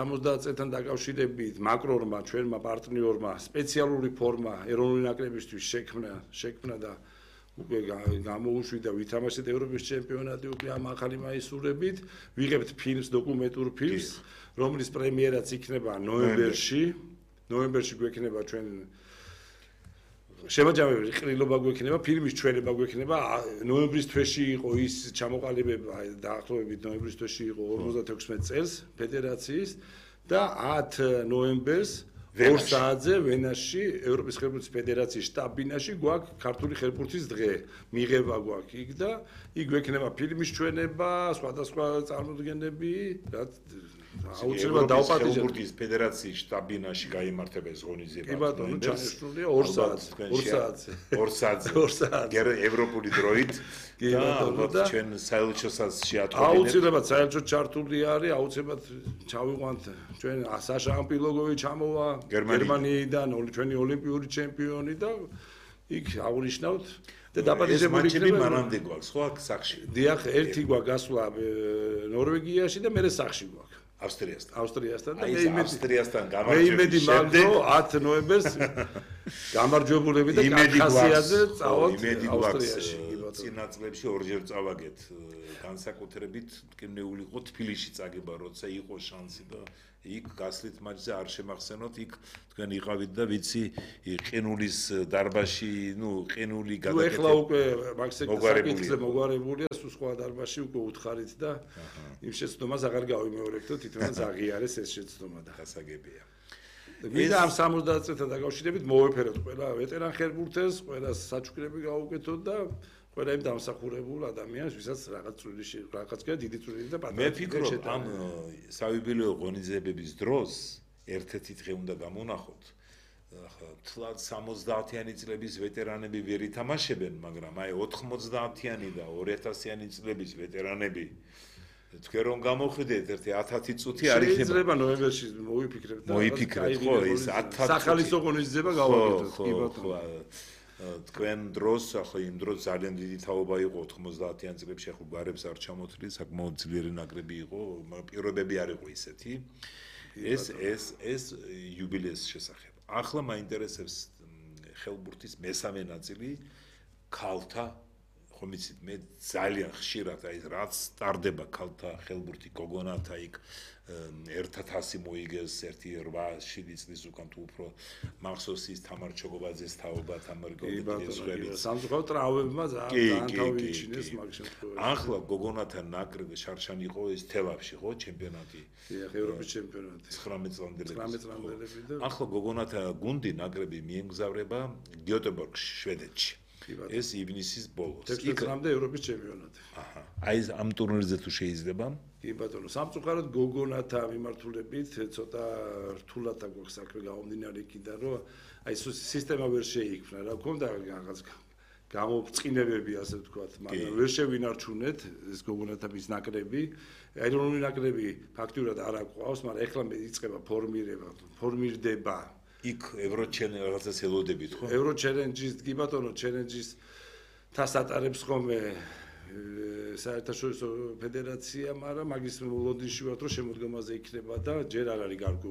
70 წელთან დაკავშირებით მაკრონმა ჩვენმა პარტნიორმა სპეციალური ფორმა ეროვნული ნაკრებისთვის შექმნა და უკვე გამოუშვიდა ვითამაშეთ ევროპის ჩემპიონატი უკვე ამ ახალი მაისურებით ვიღებთ ფილმს დოკუმენტურ ფილმს რომლის პრემიერაც იქნება ნოემბერში გვექნება ჩვენ შემაჯამებელი ყრილობა გვექნება ფილმის ჩვენება გვექნება ნოემბრის თვეში იყო ის ჩამოყალიბება დაახლოებით ნოემბრის თვეში იყო 56 წელს ფედერაციის და 10 ნოემბერს 2 საათზე ვენაში ევროპის ხელბურთის ფედერაციის შტაბ-ბინაში გვაქვს ქართული ხელბურთის დღე მიღება გვაქვს იქ და იქ გვექნება ფილმის ჩვენება სხვადასხვა წარმოდგენები რაც აუცილებლად დავპატიჟებთ ხელბურთის ფედერაციის შტაბ-ბინაში გაიმართება ეს ღონისძიება. კი ბატონო, ჩანიშნულია 2 საათზე. 2 საათზე. ევროპული დროით. კი ბატონო და ჩვენ საელჩოსაც შეატყობინეთ. აუცილებლად საელჩო ჩართული არის, აუცილებლად ჩავიყვანთ ჩვენ საშა ამპილოგოვი ჩამოვა გერმანიიდან ჩვენი ოლიმპიური ჩემპიონი და იქ აღნიშნავთ და დაპატიჟებული იქნება მანამდე გვაქვს ხო აქ სახში. დიახ, ერთი გვაქვს გასვლა ნორვეგიაში და მერე სახში გვაქვს. ავსტრიასთან და ავსტრიასთან გამარჯვების შემდეგ 10 ნოემბერს გამარჯვებულები და კავკასიაზე წავთ ავსტრიაში. წინა წლებში ორჯერ წავაგეთ განსაკუთრებით მტკივნეული იყო თბილისში წაგება როცა იყო შანსი და იქ გასლით მაჩზე არ შემახსენოთ იქ თქვენ იყავით და ვიცი ყინულის დარბაზში ყინული გადაკეთება ეხლა უკვე მაქსაკითხზე მოგვარებულია სულ სხვა დარბაზში უკვე უთხარით და იმ შეცდომას აღარ გავიმეორებდო თვითონაც აღიარეს ეს შეცდომა და გასაგებია ვიდა ამ 70 წელთან დაკავშირებით მოვეფეროთ ყველა ვეტერან ხელბურთელს ყველა საჩუქრები გავუკეთოთ და ყველა იმ დამსახურებულ ადამიანს ვისაც რაღაც დიდი წვლილი და პატრონი მე ფიქრობ ამ საიუბილეო ღონისძიებების დროს ერთ-ერთი დღე უნდა გამონახოთ თლად 70-იანი წლების ვეტერანები ვერ ითამაშებენ მაგრამ აი 90-იანი და 2000-იანი წლების ვეტერანები თქვენ რომ გამოხვიდეთ ერთი 10 წუთი არ იქნება შეიძლება ნოემბერში მოიფიქრეთ ხო ეს 10 სახალისო ღონისძიება გავაკეთოთ კი ბატონო თქვენ დროს ახლა იმ დროს ძალიან დიდი თაობა იყო 90-იან წლებში ახლა გარებს არ ჩამოთვლი საკმაოდ ძლიერი ნაკრები იყო პირობები არ იყო ისეთი ეს იუბილეის შესახებ ახლა მაინტერესებს ხელბურთის მესამე ნაწილი ქალთა ხომ იცით მე ძალიან ხშირად აი რაც სტარდება ქალთა ხელბურთი გოგონათა იქ 1000 მოიგეს 1-8 წლის უკან თუ უფრო მახსოვს ის თამარ ჩოგობაძეს თაობა თამარ გოგონაძე სამწუხაროდ ტრავმებმა ძალიან თავიჩინეს მაგ შემთხვევაში ახლა გოგონათა ნაკრები შარშანი იყო ეს თელავში ხო ჩემპიონატი ევროპის ჩემპიონატი 19 წლამდელი და ახლა გოგონათა გუნდი ნაკრები მიემგზავრება გიოტებორგში შვედეთში ეს ივნისის ბოლოს. 16 წლამდე ევროპის ჩემპიონატი. აჰა. აი ამ ტურნირზე თუ შეიძლება? კი ბატონო, სამწუხაროდ გოგონათა მიმართულებით ცოტა რთულად აქვს საქმე გამომდინარე იქიდან, რომ აი სისტემა ვერ შეიქმნა, რა გქონდა რაღაც გამოფწინებები ასე ვთქვათ, მაგრამ ვერ შევინარჩუნეთ ეს გოგონათა მის ნაკრები. ეროვნული ნაკრები ფაქტურად არ აყვავს, მაგრამ ეხლა იწყება ფორმირდება იქ ევროჩელენჯი რაღაცას ელოდებით ხო? ევროჩელენჯის კი ბატონო ჩელენჯის თას ატარებს ხოლმე საერთაშორისო ფედერაცია, მაგრამ მაგის ლონდონში ვარ რომ შემოდგომაზე იქნება და ჯერ არ არის გარკვეულ